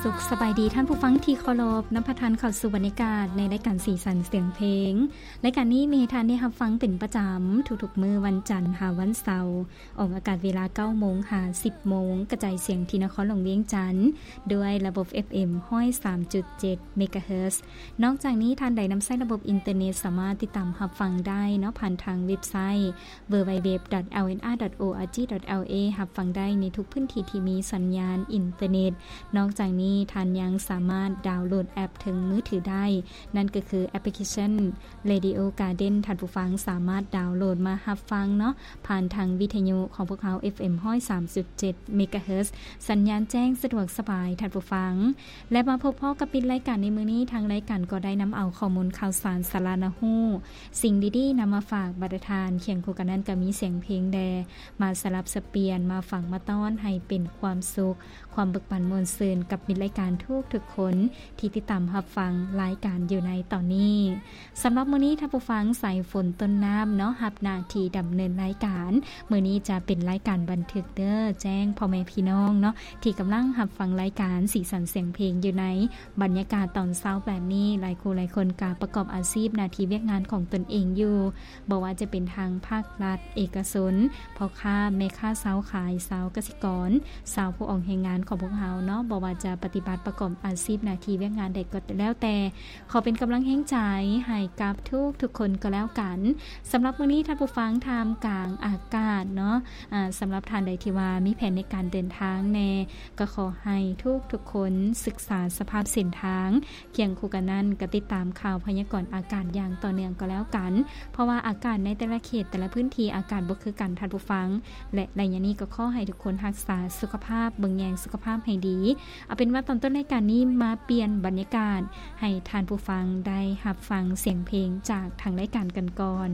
ສຸກສະບາຍດີທ່ານຜູ້ຟັງທີ່ເຄົາລົບ, ນຳພາທ່ານເຂົ້າສູ່ບັນຍາກາດໃນລາຍການສີສັນສຽງເພງ. ລາຍການນີ້ມີໃຫ້ທ່ານໄດ້ຮັບຟັງເປັນປະຈຳທຸກໆມື້ວັນຈັນຫາວັນເສົາ, ອອກອາກາດເວລາເກົ້າໂມງຫາສິບໂມງ, ກະຈາຍສຽງທີ່ນະຄອນຫຼວງວຽງຈັນ ດ້ວຍລະບົບ ເອັຟເອັມ ຮ້ອຍສາມຈຸດເຈັດ ເມກາເຮີດ. ນອກຈາກນີ້ທ່ານໃດນຳໃຊ້ລະບົບອິນເຕີເນັດ ສາມາດຕິດຕາມຮັບຟັງໄດ້ເນາະ ຜ່ານທາງເວັບໄຊ ดัບເບິນຢູດັບເບິນຢູດັບເບິນຢູດັບເບິນຢູ ດອດ ແອລເອັນອາ ດອດ ໂອອາຈີ ດອດ ແອລເອ ຮັບຟັງໄດ້ໃນທຸກພື້ນທີ່ທີ່ມີສັນຍານອິນເຕີເນັດ. ນອກຈາກນີ້ທ່ານຍັງສາມາດດາວໂຫຼດແອັບເທິງມືຖືໄດ້, ນັ້ນກໍຄືແອັບພລິເຄຊັນ Radio Garden. ທ່ານຜູ້ຟັງສາມາດດາວໂຫຼດມາຮັບຟັງເນາະ ຜ່ານທາງວິທະຍຸຂອງພວກເຮົາ ເອັຟເອັມ ຮ້ອຍສາມຈຸດເຈັດ ເມກາເຮີດ, ສັນຍານແຈ້ງສະດວກສະບາຍທ່ານຜູ້ຟັງ. ແລະ ມາພົບພໍ້ກັບມິດລາຍການໃນມື້ນີ້, ທາງລາຍການກໍໄດ້ນຳເອົາຂໍ້ມູນຂ່າວສານສາລະໜ້າຮູ້, ສິ່ງດີໆນຳມາຝາກບັນດາທ່ານ, ຄຽງຄູ່ກັນນັ້ນກໍມີສຽງເພງແດ່ ມາສະຫຼັບສະປ່ຽນ, ມາຟັງມາຕ້ອນໃຫ້ເປັນຄວາມສຸກ, ຄວາມເບີກບານມ່ວນຊື່ນກັບມິດລາຍການທຸກໆຄົນທີ່ຕິດຕາມຮັບຟັງລາຍການຢູ່ໃນຕອນນີ້. ສຳລັບມື້ນີ້ທ່ານຜູ້ຟັງ, ສາຍຝົນ ຕົ້ນນ້ຳເນາະ ຮັບໜ້າທີ່ດຳເນີນລາຍການ. ມື້ນີ້ຈະເປັນລາຍການບັນທຶກເດີ, ແຈ້ງພໍ່ແມ່ພີ່ນ້ອງເນາະ ທີ່ກຳລັງຮັບຟັງລາຍການສີສັນສຽງເພງຢູ່ໃນບັນຍາກາດຕອນເຊົ້າແບບນີ້. ຫຼາຍຄູ່ຫຼາຍຄົນກະປະກອບອາຊີບໜ້າທີ່ວຽກງານຂອງຕົນເອງຢູ່, ບໍ່ວ່າຈະເປັນທາງພາກລັດ, ເອກະຊົນ, ພໍ່ຄ້າແມ່ຄ້າ, ຊາວຂາຍ, ຊາວກະສິກອນ, ຊາວຜູ້ອອກແຮງງານຂອງພວກເຮົາເນາະ, ບໍ່ວ່າຈະປະຕິບັດປະກອບອາຊີບໜ້າທີ່ວຽກງານໃດກໍແລ້ວແຕ່, ຂໍເປັນກຳລັງແຮງໃຈໃຫ້ກັບທຸກໆຄົນກໍແລ້ວກັນ. ສຳລັບມື້ນີ້ທ່ານຜູ້ຟັງ, ທ່າມກາງອາກາດເນາະ, ອາ, ສຳລັບທ່ານໃດທີ່ວ່າມີແຜນໃນການເດີນທາງແດ່, ກໍຂໍໃຫ້ທຸກໆຄົນສຶກສາສະພາບເສັ້ນທາງ, ຄຽງຄູ່ກັນນັ້ນກໍຕິດຕາມຂ່າວພະຍາກອນອາກາດຢ່າງຕໍ່ເນື່ອງກໍແລ້ວກັນ, ເພາະວ່າອາກາດໃນແຕ່ລະເຂດ, ແຕ່ລະພື້ນທີ່ອາກາດບໍ່ຄືກັນ, ທ່ານຜູ້ຟັງ. ແລະ ໄລຍະນີ້ກໍຂໍໃຫ້ທຸກຄົນຮັກສາສຸຂະພາບ, ເບິ່ງແຍງສຸຂະພາບໃຫ້ດີ. ເອົາເປັນວ່າຕອນຕົ້ນລາຍການນີ້ມາປ່ຽນບັນຍາກາດໃຫ້ທ່ານຜູ້ຟັງໄດ້ຮັບຟັງສຽງເພງຈາກທາງລາຍການກັນກ່ອນ.